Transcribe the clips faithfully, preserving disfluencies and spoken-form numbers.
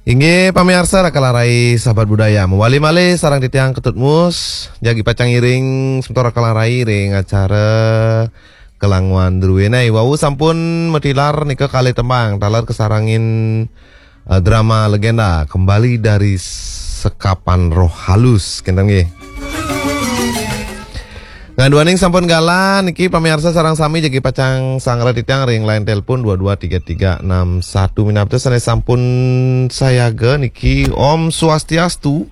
Inggih, pamiarsa Rakalarai sahabat budaya. Mawali malih sareng titiang Ketut Mus, jagi pacang ngiring semeton Rakalarai ring acara Kelanguan Druéné. Wau sampun matilar nika kalih tembang, taler kasarengin, eh, drama legenda Kembali dari Sekapan Roh Halus, kinten nggih. Ngaduaning sampun galah niki pamiarsa sareng sami jagi pacang sangra titiang ring line telepon dua dua tiga tiga enam satu. Minab sané sampun sayaga niki. Om Swastiastu.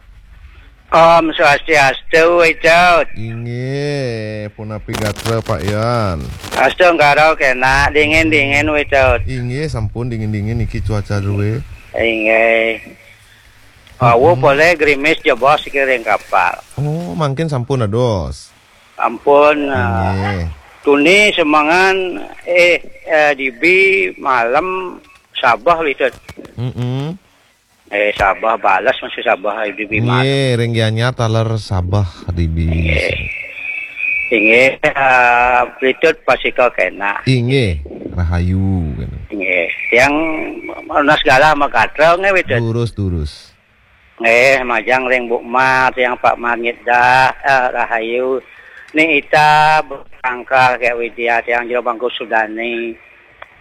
Om Swastiastu, Wicud. Inggih, punapi gatra Pak Yan? Astu engkara kénak dingin-dingin, Wicud. Inggih, sampun dingin-dingin niki cuaca drué. Inggih. Awu, mm-mm, polih grimis jebos iki ring kapal. Oh, mangkin sampun dados. Ampun, eh, inggih, tuni semengan, eh, eh, dibi malem sabeh, Wicud. Mm-mm. Eh, sabeh bales masih sabeh dibi malem. Nggih, ring Gianyar taler sabeh dibi. Nggih. Inggih, eh, Wicud pasika kénak. Inggih, rahayu, kénak. Nggih, tiang nunas galah magatra nggih, Wicud. Durus, durus. Nggih, majeng ring Bu Mar, tiang Pak Mar ngidah, eh, rahayu. Ni Ita, Bu Tangkal, Kak Widya, tiang Jero Bangku Sudani,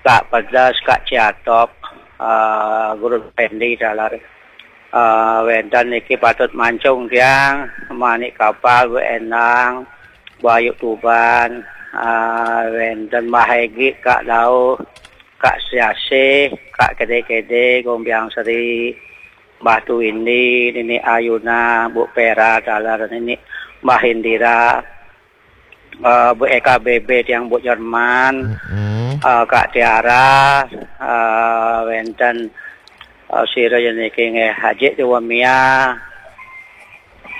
Kak Pedas, Kak Ciatop, eh, Guru Pendi, taler. Eh, wénten niki patut mancung tiang, Manik Kapal, Bu Endang, Bu Ayu Tuban, eh, wénten Mbah Egi, Kak Dauh, Kak Siasih, Kak Kede-Kede, Gombiang Seri, Mbah Tuwindi, Nini Ayuna, Bu Pera, taler Nini Mbah Indira, eh, Bu Eka B B, tiang Bu Jerman, mm-mm, eh, Kak Tiara, eh, wénten, eh, sira yen niki nggih, Haji Dewa Mia.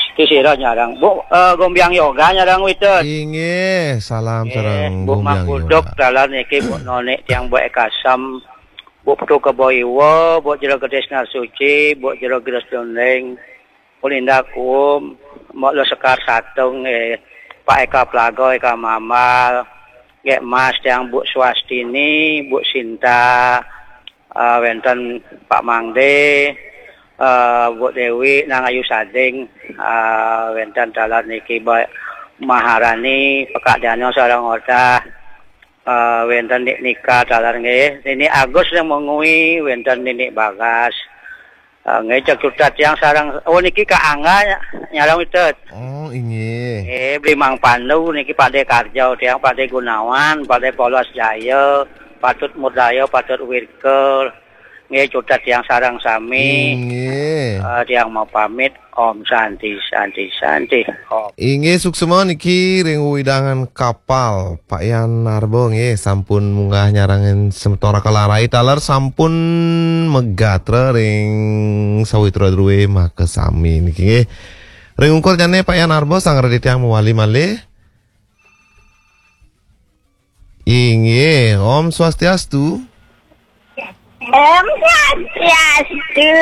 Siki sira nyareng. Bu, eh, Gombiang Yoga nyareng, Wicud. Inggih, salam, eh, sareng Bu Gombiang Mangkuduk, Yoga. Taler niki Bu Nonik, tiang Bu Eka Sem, Bu Putu Kebo Iwa, Bu Jero Gedé Sinar Suci, Bu Jero Gedé Dondeng, Bu Linda Kuum, Mbok Lo Sekar Satung, eh, Pak Eka Plaga, Eka Mambal, Gek Mas, tiang Bu Swastini, Bu Sinta, eh, wénten Pak Mangde, eh, Bu Dewi, Nang Ayu Sading, eh, wénten taler niki Mbak Maharani, Pekak Dano sareng Odah, eh, wénten Nik Nika taler nggih, Nini Agus yang mengui, wénten Nini Bagas. Eh, nggih, cek cutet tiang sareng, oh, niki Kak Angga ny-, nyareng Wicud. Oh, inggih. Eh, Bli Mang Pandu niki Pakdé Karjo, tiang Pakdé Gunawan, Pakdé Polos Jaya, Patut Murdaya, Patut Wirkel. Nggih, cutet tiang sareng sami. Inggih. Eh, tiang mau pamit. Om Santi, Santi, Santi. Om. Inggih, suksma niki ring wewidangan kapal. Pak Yan Arba nggih sampun munggah nyarengin semeton Rakalarai taler sampun magatra ring sawitra drué makasami niki nggih. Ring ungkur nyané Pak Yan Arba sang radi tiang mawali malih. Inggih, Om Swastiastu. Om Swastiastu.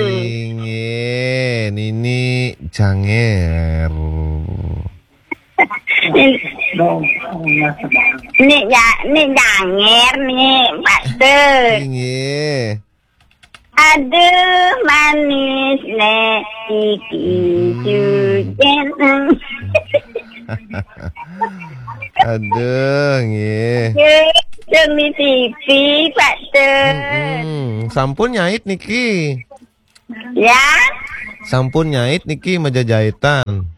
Inggih, Nini Janger. Ni, ni, ja, ni Janger ni, Pak Dut. Inggih. Aduh, manis nek iki, hmm, cucen. Aduh, nggih. Demi T V, Pak Dut. Mm-mm. Sampun nyait niki. Ya? Sampun nyait niki majajaitan.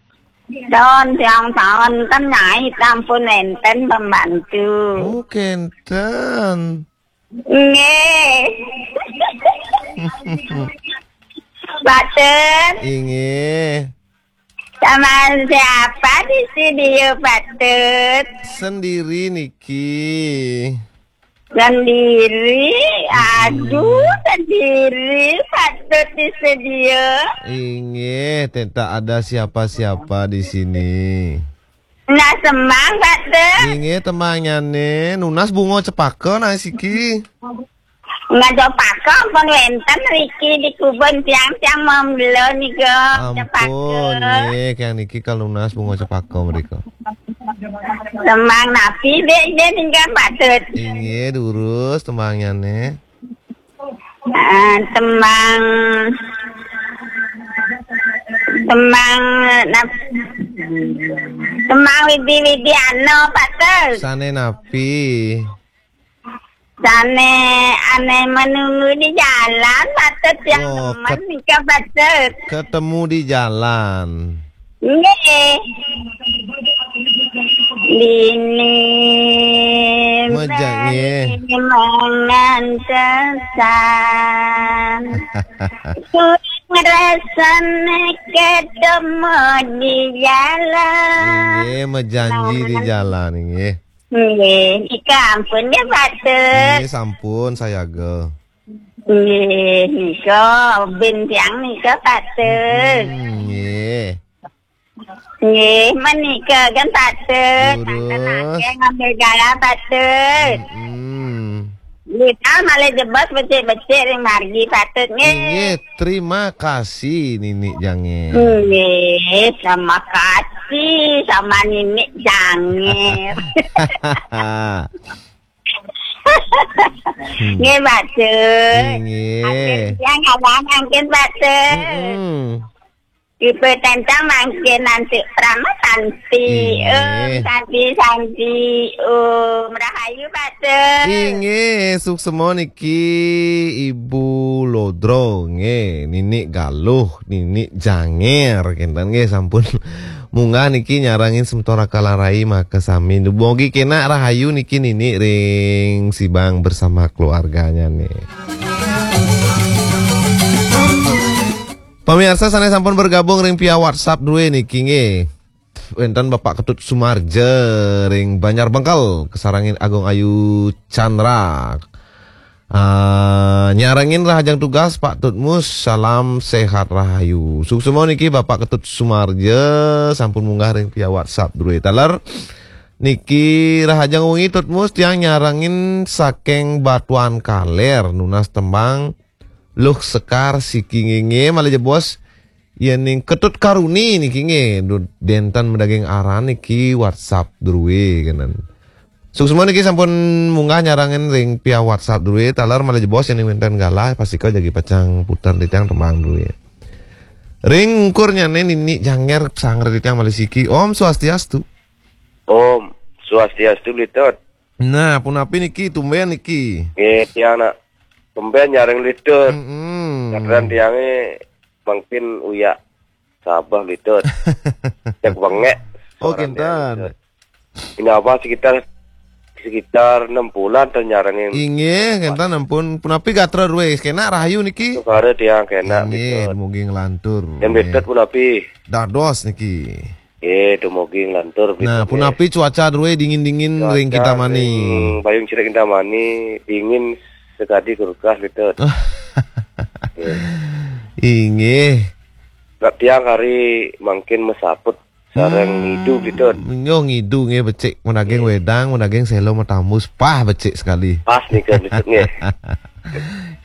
Don, tiang taun kan nyait, ampun, enten pembantu. Oh, kenten. Nggih. Baten. Inggih. Sama siapa di studio, Baten? Sendiri niki. Sendiri? Aduh, mm-mm, sendiri, Baten di studio. Inggih, tidak ada siapa-siapa di sini. Nah, semang, Pak Dut. Inggih, temangnyané nunas bunga cepaka, nah, siki. Bunga cepaka ampun wénten riki di kubun tiang-tiang membelo nika. Ampun, cepaka. Nggih, tiang niki kal nunas bunga cepaka mrika. Semang napi, Dek, Dek, nika, Pak Dut? Inggih, durus temangnyané. Ah, tembang, tembang, nap-, tembang Widi Widiano, Patut. Sane napi? Sane ane menunggu di jalan, Patut, yang Oh, nemen ket-, nika, Patut. Ketemu di jalan. Nggih. Dini Meja-, nggih. Bali mengantesan. Ku ngrasane ketemu di jalan. Nggih, mejanji di jalan, nggih. Nggih, nika ampun nggih, Patut. Nggih, sampun, sayaga. Nggih, nika, ben tiang nika, Patut. Hmm, nggih. Nggih, menika kan Patut. Lurus. Manten akeh ngambil gala Patut. Hmm. Kita malah jebos becik-becik ring margi Patut, nggih. Nggih, terima kasih, Nini Janger. Nggih, sama kasih sama Nini Janger. Hmm. Nggih, Patut. Nggih. Atur yang abang angkin, Patut. Mm-mm. Tipe tentang mangkin nanti Prama Santi. Inggih. Om Santi, Santi. Om Rahayu, Patut. Inggih, suksema niki Ibu Lodro, nggih, Nini Galuh, Nini Janger, kinten nggih sampun munggah niki nyarengin semeton Raka Larai makasami. Dumogi kenak rahayu niki Nini ring Sibang bersama keluarganya nih. Pamiarsa sane sampun bergabung ring via WhatsApp druwe niki nggih. Wenten Bapak Ketut Sumarja ring Banjar Bengkel, kasarengin Agung Ayu Chandra. Ah, nyarengin rahajeng tugas Pak Tutmus, salam sehat rahayu. Suksema niki Bapak Ketut Sumarja sampun munggah ring via WhatsApp druwe taler. Niki rahajeng wengi Tutmus tiang nyarengin saking Batuan Kaler nunas tembang Luh Sekar siki nggih malih jebos yening Ketut Karuni niki nggih, du-, denten madaging aran niki WhatsApp druwe kenen. Suksema niki sampun munggah nyarengin ring via WhatsApp druwe, taler malih jebos yening wenten galah, pastika jagi pacang puter titiang tembang druwe. Ring ungkurnyane Nini Janger sanggra titiang malih siki. Om Swastiastu. Om Swastiastu, Litut. Nah, punapi niki, tumben niki? Nggih, tiang nak tumben nyareng Litut. Mm-mm. Kadang tiange mungkin uyak Sabah, Litut. Cek bengek. Oh, suaranya, kinten. Litut. Ini apa, sekitar, sekitar enam bulan tuh nyarengin. Inggih, kinten ampun. Punapi gatra druwe, kenak rahayu niki? Sukara tiang kenak, inggih, Litut. Dumugi nglantur. Yang, nggih, Litut punapi? Dados niki. Eh, dumugi nglantur, nah, Litut, punapi nggih. Cuaca druwe dingin-dingin ring Kintamani? Cuaca ring Bayung Cerik Kintamani dingin sekadi kulkas, Litut. Nggih. Inggih. Nak tiang kari mangkin masaput sareng ngidu, Litut. Nggih, ngidu nggih becik, madaging wedang, madaging selo matambus, pah becik sekali. Pas nika, Litut, nggih.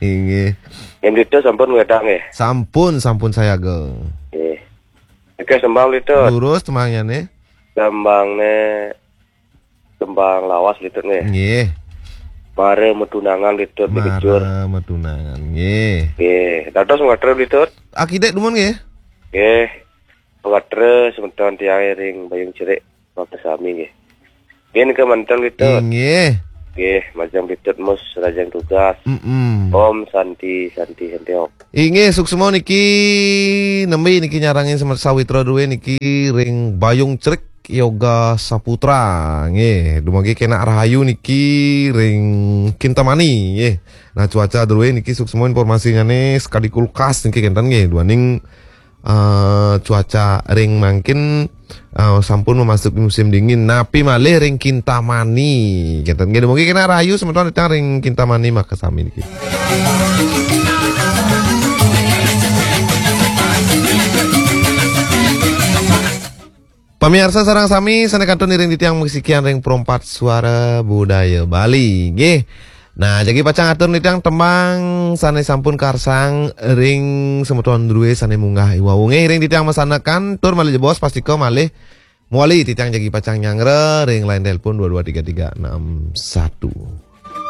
Inggih. Yang Litut sampun wedang nggih? Sampun, sampun sayaga. Nggih. Oke, tembang, Litut. Lurus tembangnye nih. Tembangne tembang lawas, Litut, nggih. Nggih. Mara matunangan, Litut, Mara matunangan, nggih. Nggih. Dados mangatra, Litut. Akidek dumun nggih. Nggih. Mangatra semeton tiang ring Bayung Cerik. Makasami nggih. Nggih, nika manten, Litut. Inggih. Nggih, majeng Litut Mus rahajeng tugas. Mm-mm. Om Santi, Santi, Santi Om. Inggih, suksma niki nembe niki nyarengin semet sawitra druwe niki ring Bayung Cerik Yoga Saputra. Nggih, dumugi kenak rahayu niki ring Kintamani nggih. Nah, cuaca druwe niki suksma informasinyane sekadi kulkas niki kenten nggih, duaning eh, cuaca ring mangkin, eh, sampun memasuki musim dingin. Napi malih ring Kintamani. Kenten nggih, dumugi kenak rahayu semeton titiang ring Kintamani makasami niki. Pamiarsa sareng sami sane kantun iring titiang masikian ring Perempat Suara Budaya Bali. Nggih. Nah, jagi pacang atur titiang tembang sane sampun karsang ring semeton druwe sane munggah iwau. Nggih, ring titiang masanekan tur malih jebos pastika malih mawali titiang jagi pacang nyanggra ring line telepon dua dua tiga tiga enam satu.